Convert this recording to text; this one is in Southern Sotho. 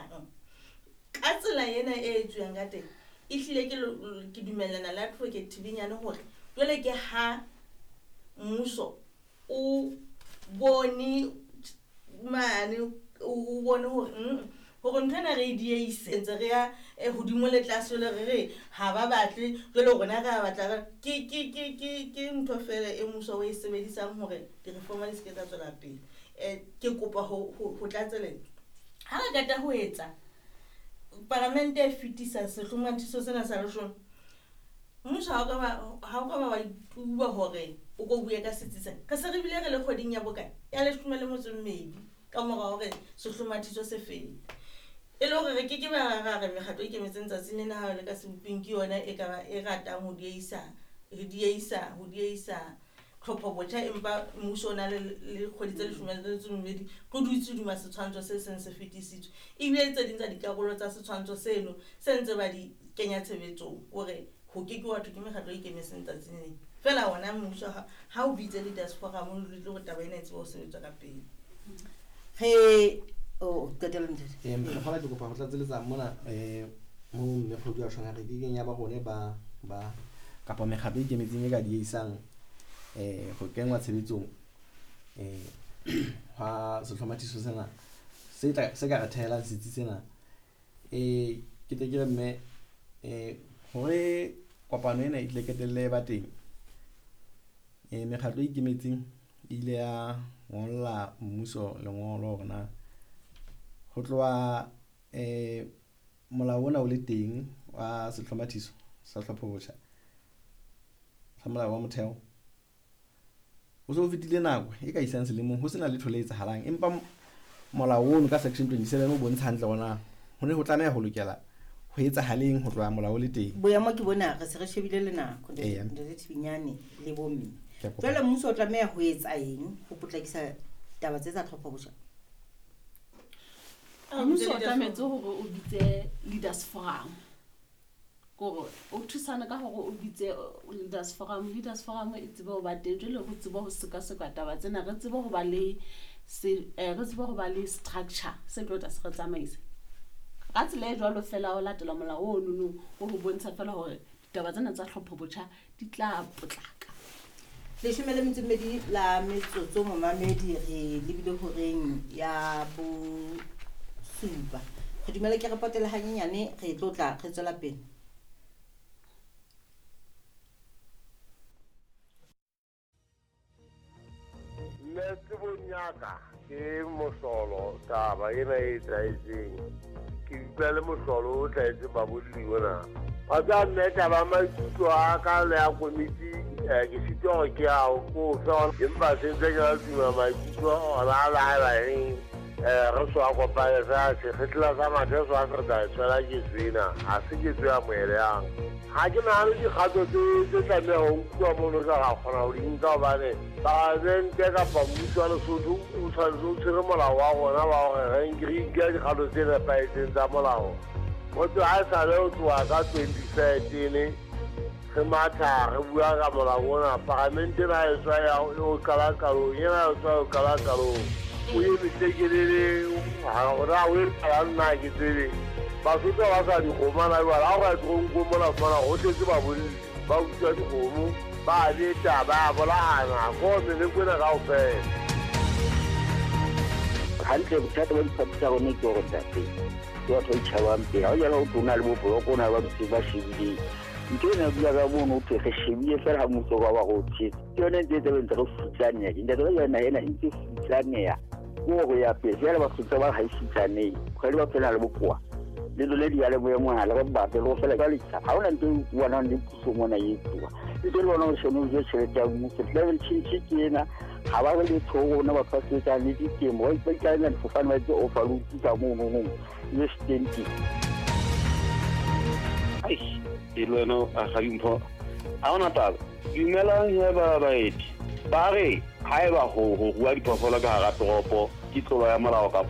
batlang. Ka tsela ena e etsuwang ka teng, ehlile ke dumellana le Advocate Thibinyane hore jwale ke ha mmuso o bone mane, o bone hore hore ntho ena re e dieise, ntse re ya hodimo le tlase, jwale re re ha ba batle, jwale rona re a batla. Ke ntho feela e mmuso o e sebedisang hore di-reform di se ke tsa tswela pele. Ke kopa ho tlatseletsa. Ha re qeta ho etsa palamente e fetisa sehlomathiso sena sa leshome, mmuso ha o ka ba wa ituba hore o ko bue ka setsi sena. Re se re bile re le kgweding ya bokae? Ya 12 ka mora hore sehlomathiso se fele. E le hore re ke ke ba ra re mekgatlo e ikemetseng tsatsing lena ha le ka seboping ke yona e ka ba e ratang ho dieisa tlhopho botjha, empa mmuso o na le kgwedi tse 12 re dutse hodima setshwantsho se seng se fetisitswe. Ebile tse ding tsa dikarolo tsa setshwantsho seno se ntse ba di kenya tshebetsong hore ho ke ke wa thwe ke mekgatlo e ikemetseng tsatsing lena. Feela ona mmuso ha o bitse leaders forum le hore taba ena e tsebe ho sebetswa ka pele. Re o qetela ntate. Mokgwa ke kopa ho tlatseletsa mona, mo mme kgwedi wa tjhong re ke keng ya ba rone ba kapa mekgatlo e ikemetseng e ka dieisang, ho kenngwa tshebetsong, hwa sehlomathiso sena se tla, se ka re thehelang setsi sena. Ke tle ke re mme, hore kopano ena e tle qetelle ba teng, mekgatlo e ikemetseng e ile ya ngolla mmuso lengolo hore na ho tloha, molao ona o le teng wa sehlomathiso sa tlhopho botjha sa molao wa motheo, ho so fetile nako e ka isang selemong ho sena letho le etsahalang, empa molao ono ka section 27 o bontsha hantle hore na ho ne ho tlameha ho lokela ho etsahaleng ho tloha molao o le teng. Boemo ke bona, re se re shebile le nako, Ntate Thibinyane le bomme. Ke a kopa. Jwale mmuso o tlameha ho etsa eng ho potlakisa taba tse tsa tlhopho botjha? Mmuso o tlametse hore o bitse leaders forum. Kore o thusane ka hore o bitse leaders forum. Leaders forum e tsebe ho ba teng, jwale re tsebe ho sekaseka taba tsena, re tsebe ho ba le se, re tsebe ho ba le structure se tlo tla se re tsamaisa. Ka tsela e jwalo fela ho latela molao o nono o ho bontsha fela hore ditaba tsena tsa tlhopho botjha di tla potlaka. 12 la metsotso momamedi, re lebile horeng ya 7. Re dumela ke re potele hanyenyane, re tlo tla re tswela pele. Nna tsebong ya ka ke mohlolo taba ena e etsahetseng. Ke utlwa le mohlolo o hlahetseng babolli ona. Wa tseba mme taba ya maikutlo a ka le ya komiti, ke sitwa hore ke a o kofe, empa se ntse ke la tuma maikutlo ona a la eba eng, re so a kopane fela, sekgetla sa mathe so a se re tla e tshwela ketso ena, ha se ketso ya moelehang. Ha ke nahane dikgato tse tlameha ho nkuwa mono re ka kgona ho di nka, hobane palamente kapa mmuso wa Lesotho o tshwanetse o tshwere molao wa rona wa hore re nke dikgato tse nepahetseng tsa molao. Ho tloha ha esale ho tloha ka 2013 re matha re bua ka molao ona, palamente ena e tswa ya o qala qalong, ena e tswa o qala qalong. O eme tlekelele, ha hore o etsahalang nna ha ke tsebe. Basotho ba sa dikgomo hana jwale, ha o ka ya toronkong mona fumana ho tletse babolli, ba utswa dikgomo, ba beta, ba bolayana, ko meleko ena kaofela. Hantle bothata ba diphathi tsa rona ke hore ntate, ke batho ba itjhabang pele. Ha o jala ho tlo na le bo bloko, o na le ba dutseng ba shebileng. Ntho ena e bua ka mono, ho thwe re shebile fela ha mmuso wa ba re o tshetse. Ke yona e ntse e tla ntse re futsaneha. Ntate ba jana ena e ntse futsaneha. Ke hore ya pele, jwale Basotho ba ha e futsanehe. Kgwedi ba phela le bokowa. Le lona diyalemoya mona, le re batle, le ho fela jwale tjha. Ha hona ntho e utlwanang le puso mona e etsuwa. Ntho e le bona o shone o je tjhelete ya mmuso. Climate change ke ena, ha ba re letho ho rona batho ba sebetsang le ditemo, ba ikaela difofane ba etse overload ka mono nong, le stenti. Eish, e le wena a ga dimpho. Ha hona taba. Dumelang he ba baeti. Ba re haeba ho rua diphoofolo ka hara toropo ke tlolo ya molao kapo